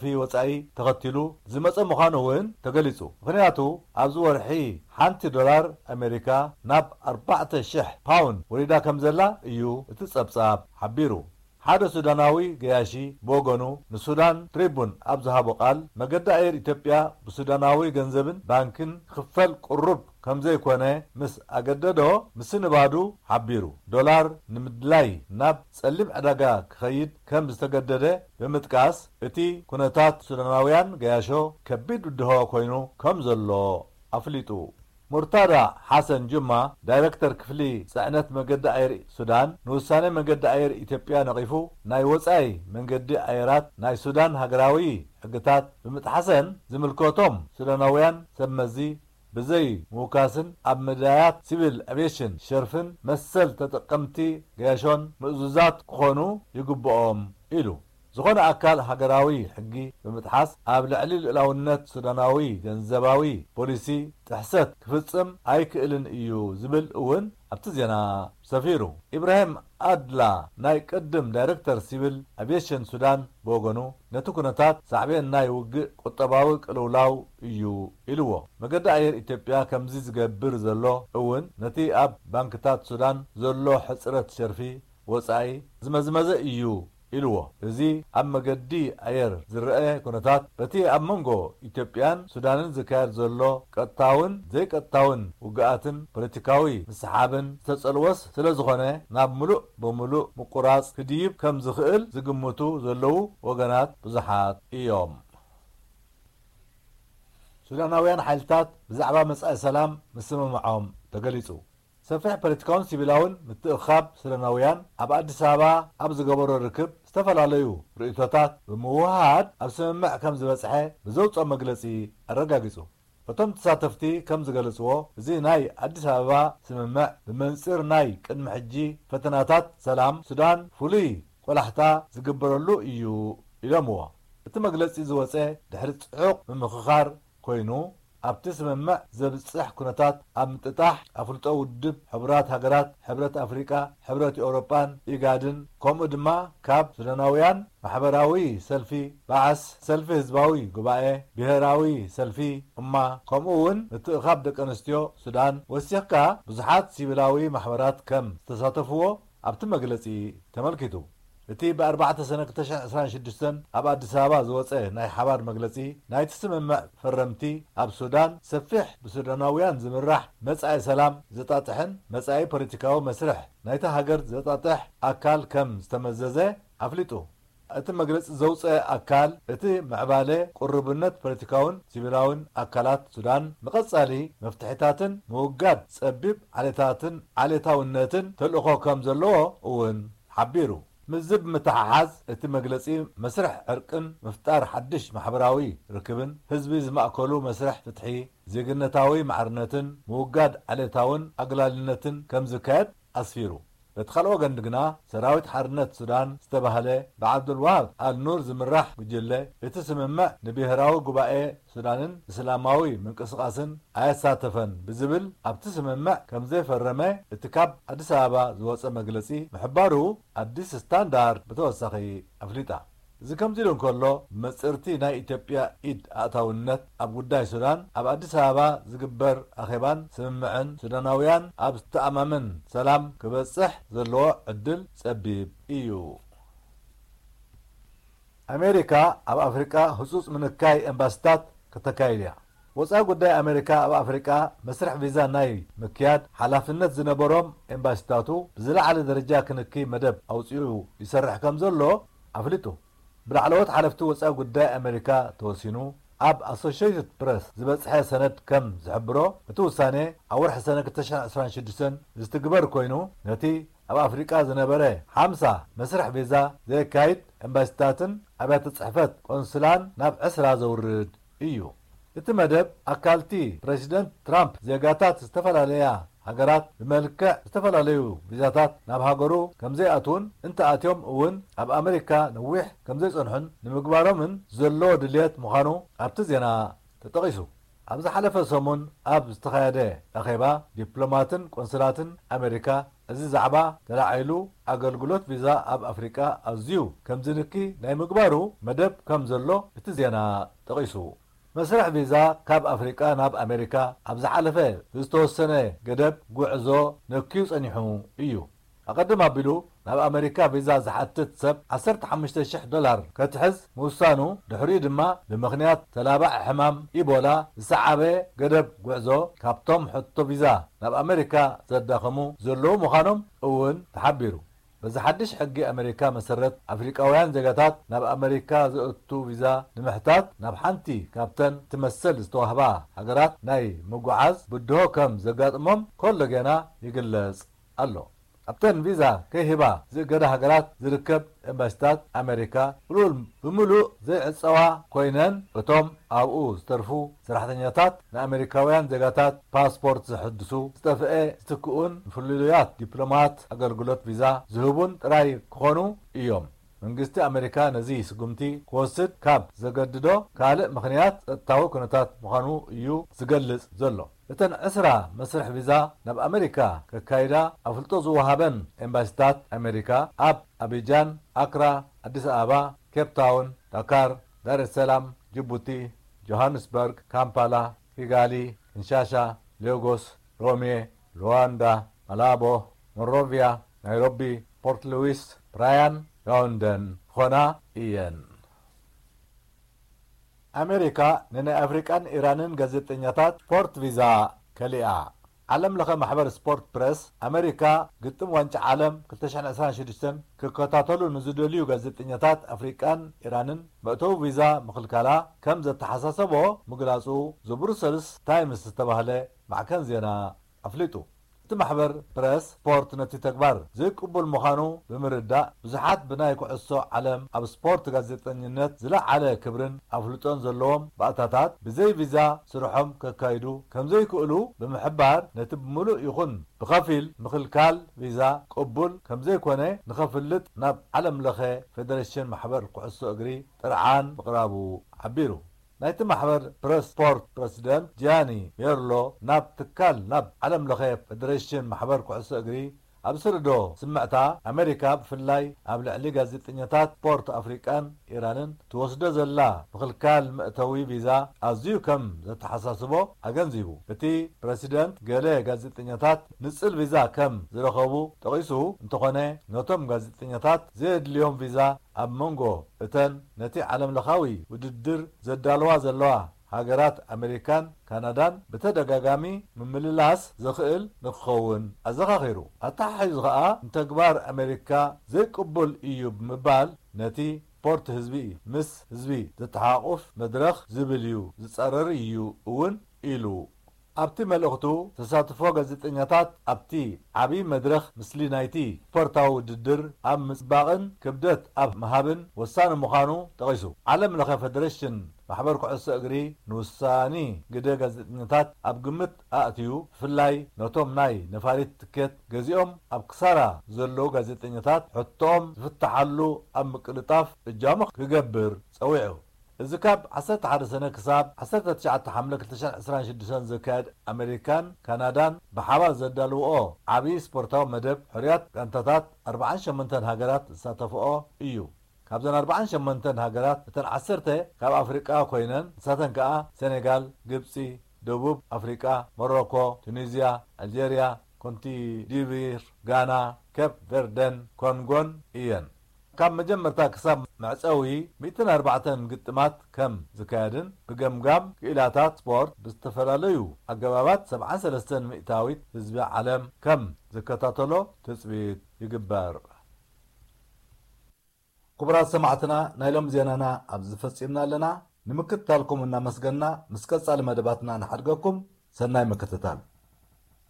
ሸርፊ ወጻኢ ተኸቲሉ ዝመጸ ምዃኑ እውን ተገሊጹ። ምኽንያቱ ኣብዚ ወርሒ ሓንቲ ዶላር ኣሜሪካ ናብ ኣርባዕተ ሽሕ ፓውንድ ወሪዳ ከም ዘላ እዩ እቲ ጸብጻብ ሓቢሩ። ሓደ ሱዳናዊ ገያሺ ብወገኑ ንሱዳን ትሪቡን ኣብ ዝሃቦ ቃል፣ መገዲ ኣየር ኢትዮጵያ ብሱዳናዊ ገንዘብን ባንክን ክኽፈል ቅሩብ ከም ዘይኮነ ምስ ኣገደዶ ምስንባዱ ሓቢሩ። ዶላር ንምድላይ ናብ ጸሊም ዕዳጋ ክኸይድ ከም ዝተገደደ ብምጥቃስ፣ እቲ ኩነታት ሱዳናውያን ገያሾ ከቢድ ብድሆ ኮይኑ ከም ዘሎ ኣፍሊጡ። ሙርታዳ ሓሰን ጁማ፣ ዳይረክተር ክፍሊ ጽዕነት መገዲ ኣየር ሱዳን፣ ንውሳነ መገዲ ኣየር ኢትዮጵያ ነቒፉ፣ ናይ ወጻኢ መንገዲ ኣየራት ናይ ሱዳን ሃገራዊ ሕግታት ብምጥሓሰን ዝምልከቶም ሱዳናውያን ሰብ መዚ ብዘይ ምውካስን ኣብ መዳያት ሲቪል ኣቪየሽን ሸርፍን መሰል ተጠቀምቲ ገያሾን ምእዙዛት ክኾኑ ይግብኦም ኢሉ። ዝኾነ ኣካል ሃገራዊ ሕጊ ብምጥሓስ ኣብ ልዕሊ ልኡላውነት ሱዳናዊ ገንዘባዊ ፖሊሲ ጥሕሰት ክፍጽም ኣይክእልን እዩ ዝብል እውን ኣብቲ ዜና ሰፊሩ። ኢብራሂም ኣድላ ናይ ቅድም ዳይረክተር ሲቪል ኣቪየሽን ሱዳን ብወገኑ ነቲ ኩነታት ሳዕቤን ናይ ውግእ ቁጠባዊ ቅልውላው እዩ ኢልዎ። መገዲ ኣየር ኢትዮጵያ ከምዚ ዝገብር ዘሎ እውን ነቲ ኣብ ባንክታት ሱዳን ዘሎ ሕጽረት ሸርፊ ወጻኢ ዝመዝመዘ እዩ ኢልዎ። እዚ ኣብ መገዲ ኣየር ዝረአ ኩነታት በቲ ኣብ መንጎ ኢትዮጵያን ሱዳንን ዝካየድ ዘሎ ቀጥታውን ዘይቀጥታውን ውግኣትን ፖለቲካዊ ምስሓብን ዝተጸልወስ ስለ ዝኾነ ናብ ምሉእ ብምሉእ ምቁራጽ ክድይብ ከም ዝኽእል ዝግምቱ ዘለዉ ወገናት ብዙሓት እዮም። ሱዳናውያን ሓይልታት ብዛዕባ መጻኢ ሰላም ምስምምዖም ተገሊጹ። ሰፊሕ ፖለቲካውን ሲቪላውን ምትእኻብ ሱዳናውያን ኣብ ኣዲስ ኣበባ ኣብ ዝገበሮ ርክብ ዝተፈላለዩ ርእይቶታት ብምውህሃድ ኣብ ስምምዕ ከም ዝበጽሐ ብዘውፅኦ መግለጺ ኣረጋጊጹ። እቶም ተሳተፍቲ ከም ዝገለጽዎ፣ እዚ ናይ ኣዲስ ኣበባ ስምምዕ ብመንጽር ናይ ቅድሚ ሕጂ ፈተናታት ሰላም ሱዳን ፍሉይ ቆላሕታ ዝግበረሉ እዩ ኢሎምዎ። እቲ መግለጺ ዝወጸ ድሕሪ ጽዑቕ ምምኽኻር ኮይኑ፣ ኣብቲ ስምምዕ ዘብጽሕ ኩነታት ኣብ ምጥጣሕ ኣፍልጦ ውድብ ሕቡራት ሃገራት፣ ሕብረት ኣፍሪቃ፣ ሕብረት ኤውሮጳን ኢጋድን፣ ከምኡ ድማ ካብ ሱዳናውያን ማሕበራዊ ሰልፊ ባዕስ፣ ሰልፊ ህዝባዊ ጉባኤ፣ ብሄራዊ ሰልፊ እማ፣ ከምኡ እውን ምትእኻብ ደቂ ኣንስትዮ ሱዳን ወሲኽካ ብዙሓት ሲቪላዊ ማሕበራት ከም ዝተሳተፍዎ ኣብቲ መግለጺ ተመልኪቱ። እቲ ብ ኣርባዕተ ሰነ ክልተ ሽሕን ዕስራን ሽዱሽተን ኣብ ኣዲስ ኣበባ ዝወጸ ናይ ሓባር መግለጺ፣ ናይቲ ስምምዕ ፈረምቲ ኣብ ሱዳን ሰፊሕ ብሱዳናውያን ዝምራሕ መጻኢ ሰላም ዘጣጥሕን መጻኢ ፖለቲካዊ መስርሕ ናይታ ሃገር ዘጣጥሕ ኣካል ከም ዝተመዘዘ ኣፍሊጡ። እቲ መግለጺ ዘውጸአ ኣካል፣ እቲ ምዕባለ ቅሩብነት ፖለቲካውን ሲቪላውን ኣካላት ሱዳን ንቐጻሊ መፍትሒታትን ምውጋድ ጸቢብ ዓሌታትን ዓሌታውነትን ተልእኾ ከም ዘለዎ እውን ሓቢሩ። ምስዚ ብምትሓሓዝ፣ እቲ መግለጺ መስርሕ ዕርቅን ምፍጣር ሓድሽ ማሕበራዊ ርክብን፣ ህዝቢ ዝማእከሉ መስርሕ ፍትሒ፣ ዜግነታዊ ማዕርነትን ምውጋድ ዓሌታውን ኣግላልነትን ከም ዝካየድ ኣስፊሩ። በቲ ካልእ ወገን ግና፣ ሰራዊት ሓርነት ሱዳን ዝተባህለ ብዓብዱልዋሃብ ኣልኑር ዝምራሕ ጉጅለ፣ እቲ ስምምዕ ንብሄራዊ ጉባኤ ሱዳንን እስላማዊ ምንቅስቓስን ኣየሳተፈን ብዝብል፣ ኣብቲ ስምምዕ ከም ዘይፈረመ እቲ ካብ ኣዲስ ኣበባ ዝወጸ መግለጺ ምሕባሩ ኣዲስ ስታንዳርድ ብተወሳኺ ኣፍሊጣ። እዚ ከምዚ ኢሉ እንከሎ፣ ብመጽርቲ ናይ ኢትዮጵያ ኢድ ኣእታውነት ኣብ ጉዳይ ሱዳን ኣብ ኣዲስ ኣበባ ዝግበር ኣኼባን ስምምዕን ሱዳናውያን ኣብ ዝተኣማምን ሰላም ክበጽሕ ዘለዎ ዕድል ጸቢብ እዩ። ኣሜሪካ ኣብ ኣፍሪቃ ህጹጽ ምንካይ ኤምባሲታት ከተካይድ እያ። ወጻኢ ጉዳይ ኣሜሪካ ኣብ ኣፍሪቃ መስርሕ ቪዛ ናይ ምክያድ ሓላፍነት ዝነበሮም ኤምባሲታቱ ብዝለዓለ ደረጃ ክንክይ መደብ ኣውጺኡ ይሰርሕ ከም ዘሎ ኣፍሊጡ። ብላዕለዎት ሓለፍቲ ወጻኢ ጉዳይ ኣሜሪካ ተወሲኑ። ኣብ ኣሶሽየትድ ፕረስ ዝበጽሐ ሰነድ ከም ዝሕብሮ፣ እቲ ውሳኔ ኣብ ወርሒ ሰነ ክልተ ሽሕን ዕስራን ሽዱሽተን ዝትግበር ኮይኑ፣ ነቲ ኣብ ኣፍሪቃ ዝነበረ ሓምሳ መስርሕ ቪዛ ዘየካይድ ኤምባሲታትን ኣብያተ ጽሕፈት ቆንስላን ናብ ዕስራ ዘውርድ እዩ። እቲ መደብ ኣካልቲ ፕረሲደንት ትራምፕ ዜጋታት ዝተፈላለያ ሃገራት ብመልክዕ ዝተፈላለዩ ቪዛታት ናብ ሃገሩ ከም ዘይኣትዉን እንተኣትዮም እውን ኣብ ኣመሪካ ነዊሕ ከም ዘይጸንሑን ንምግባሮምን ዘለዎ ድልየት ምዃኑ ኣብቲ ዜና ተጠቒሱ። ኣብ ዝሓለፈ ሰሙን ኣብ ዝተኻየደ ኣኼባ ዲፕሎማትን ቆንስላትን ኣሜሪካ፣ እዚ ዛዕባ ተላዒሉ፣ ኣገልግሎት ቪዛ ኣብ ኣፍሪቃ ኣዝዩ ከም ዝንኪ ናይ ምግባሩ መደብ ከም ዘሎ እቲ ዜና ጠቒሱ። መስርሕ ቪዛ ካብ ኣፍሪቃ ናብ ኣሜሪካ ኣብ ዝሓለፈ ብዝተወሰነ ገደብ ጉዕዞ ነክዩ ጸኒሑ እዩ። ኣቐድም ኣቢሉ ናብ ኣሜሪካ ቪዛ ዝሓትት ሰብ ዓሰርተ ሓሙሽተ ሽሕ ዶላር ከትሕዝ ምውሳኑ፣ ድሕሪኡ ድማ ብምኽንያት ተላባዒ ሕማም ኢቦላ ዝሰዓበ ገደብ ጉዕዞ ካብቶም ሕቶ ቪዛ ናብ ኣሜሪካ ዘዳኸሙ ዘለዉ ምዃኖም እውን ተሓቢሩ። በዚ ሓድሽ ሕጊ ኣሜሪካ መሰረት፣ ኣፍሪቃውያን ዜጋታት ናብ ኣሜሪካ ዘእቱ ቪዛ ንምሕታት ናብ ሓንቲ ካብተን ትመሰል ዝተዋህባ ሃገራት ናይ ምጉዓዝ ብድሆ ከም ዘጋጥሞም ኮሎ ጌና ይግለጽ ኣሎ። ኣብተን ቪዛ ከይህባ ዝእገዳ ሃገራት ዝርከብ ኤምባሲታት ኣሜሪካ ምሉእ ብምሉእ ዘይዕጸዋ ኮይነን፣ እቶም ኣብኡ ዝተርፉ ሰራሕተኛታት ንኣሜሪካውያን ዜጋታት ፓስፖርት ዘሐድሱ፣ ዝጠፍአ ዝትክኡን ንፍልልያት ዲፕሎማት ኣገልግሎት ቪዛ ዝህቡን ጥራይ ክኾኑ እዮም። መንግስቲ ኣሜሪካ ነዚ ስጉምቲ ክወስድ ካብ ዘገድዶ ካልእ ምኽንያት ጸጥታዊ ኩነታት ምዃኑ እዩ ዝገልጽ ዘሎ። እተን ዕስራ መስርሕ ቪዛ ናብ ኣሜሪካ ከካይዳ ኣፍልጦ ዝወሃበን ኤምባሲታት ኣሜሪካ ኣብ ኣቢጃን፣ ኣክራ፣ ኣዲስ ኣበባ፣ ኬፕ ታውን፣ ዳካር፣ ዳር ሰላም፣ ጅቡቲ፣ ጆሃንስበርግ፣ ካምፓላ፣ ኪጋሊ፣ ኪንሻሻ፣ ሌጎስ፣ ሮሜ፣ ሉዋንዳ፣ ማላቦ፣ ሞንሮቪያ፣ ናይሮቢ፣ ፖርት ሉዊስ፣ ብራያን፣ ያውንደን ኾና እየን። ኣሜሪካ ንናይ ኣፍሪቃን ኢራንን ጋዜጠኛታት ስፖርት ቪዛ ከሊኣ። ዓለም ለኸ ማሕበር ስፖርት ፕረስ ኣሜሪካ ግጥም ዋንጫ ዓለም ክልተ ሽሕን ዕስራን ሽዱሽተን ክከታተሉ ንዝደልዩ ጋዜጠኛታት ኣፍሪቃን ኢራንን መእተዊ ቪዛ ምኽልካላ ከም ዘተሓሳሰቦ ምግላጹ ዘብሩሰልስ ታይምስ ዝተባህለ ማዕከን ዜና ኣፍሊጡ። እቲ ማሕበር ፕረስ ስፖርት ነቲ ተግባር ዘይቅቡል ምዃኑ ብምርዳእ፣ ብዙሓት ብናይ ኩዕሶ ዓለም ኣብ ስፖርት ጋዜጠኝነት ዝለዓለ ክብርን ኣፍልጦን ዘለዎም ባእታታት ብዘይ ቪዛ ስርሖም ከካይዱ ከም ዘይክእሉ ብምሕባር፣ ነቲ ብምሉእ ይኹን ብኸፊል ምኽልካል ቪዛ ቅቡል ከም ዘይኮነ ንኸፍልጥ ናብ ዓለም ለኸ ፌደሬሽን ማሕበር ኩዕሶ እግሪ ጥርዓን ምቕራቡ ሓቢሩ። ናይቲ ማሕበር ፕረስ ስፖርት ፕረሲደንት ጂያኒ ሜርሎ ናብ ትካል፣ ናብ ዓለም ለኸ ፌደሬሽን ማሕበር ኩዕሶ እግሪ ኣብ ዝሰደዶ ስምዕታ፣ ኣሜሪካ ብፍላይ ኣብ ልዕሊ ጋዜጠኛታት ስፖርት ኣፍሪቃን ኢራንን ትወስዶ ዘላ ምኽልካል መእተዊ ቪዛ ኣዝዩ ከም ዘተሓሳስቦ ኣገንዚቡ። እቲ ፕረሲደንት፣ ገለ ጋዜጠኛታት ንጽል ቪዛ ከም ዝረኸቡ ጠቒሱ እንተኾነ፣ ነቶም ጋዜጠኛታት ዘየድልዮም ቪዛ ኣብ መንጎ እተን ነቲ ዓለምለኻዊ ውድድር ዘዳልዋ ዘለዋ ሃገራት ኣሜሪካን ካናዳን ብተደጋጋሚ ምምልላስ ዘኽእል ንክኸውን ኣዘኻኺሩ። ኣተሓሒዙ ኸኣ፣ ንተግባር ኣሜሪካ ዘይቅቡል እዩ ብምባል፣ ነቲ ስፖርት ህዝቢ ምስ ህዝቢ ዘተሓቑፍ መድረኽ ዝብል እዩ፣ ዝጸረር እዩ እውን ኢሉ። ኣብቲ መልእኽቱ፣ ተሳትፎ ጋዜጠኛታት ኣብቲ ዓቢ መድረኽ፣ ምስሊ ናይቲ ስፖርታዊ ውድድር ኣብ ምጽባቕን ክብደት ኣብ ምሃብን ወሳኒ ምዃኑ ጠቒሱ። ዓለም ለኸ ፈደረሽን ማሕበር ኩዕሶ እግሪ ንውሳኒ ግደ ጋዜጠኛታት ኣብ ግምት ኣእትዩ፣ ብፍላይ ነቶም ናይ ነፋሪት ትኬት ገዚኦም ኣብ ክሳራ ዘለዉ ጋዜጠኛታት ሕቶኦም ዝፍትሓሉ ኣብ ምቅልጣፍ እጃሙ ክገብር ጸዊዑ። እዚ ካብ ዓሰርተ ሓደ ሰነ ክሳብ ዓሰርተ ትሽዓተ ሓምለ ክልተ ሽሕን ዕስራን ሽዱሽተን ዝካየድ ኣሜሪካን ካናዳን ብሓባር ዘዳልውኦ ዓቢ ስፖርታዊ መደብ፣ ሕሩያት ጋንታታት ኣርባዓን ሸሞንተን ሃገራት ዝሳተፍኦ እዩ። ካብዘን ኣርባዓን ሸሞንተን ሃገራት፣ እተን ዓሰርተ ካብ ኣፍሪቃ ኮይነን፣ ንሳተን ከኣ ሴኔጋል፣ ግብጺ፣ ደቡብ ኣፍሪቃ፣ ሞሮኮ፣ ቱኒዝያ፣ ኣልጀርያ፣ ኮትዲቯር፣ ጋና፣ ኬፕ ቨርደን ኮንጎን እየን። ካብ መጀመርታ ክሳብ መዕጸዊ ሚእትን ኣርባዕተን ግጥማት ከም ዝካየድን፣ ብገምጋም ክኢላታት ስፖርት ብዝተፈላለዩ ኣገባባት ሰብዓን ሰለስተን ሚእታዊት ህዝቢ ዓለም ከም ዝከታተሎ ትጽቢት ይግበር። ክቡራት ሰማዕትና፣ ናይ ሎም ዜናና ኣብዚ ፈጺምና ኣለና። ንምክትታልኩም እናመስገንና፣ ምስ ቀጻሊ መደባትና ንሓድገኩም። ሰናይ ምክትታል።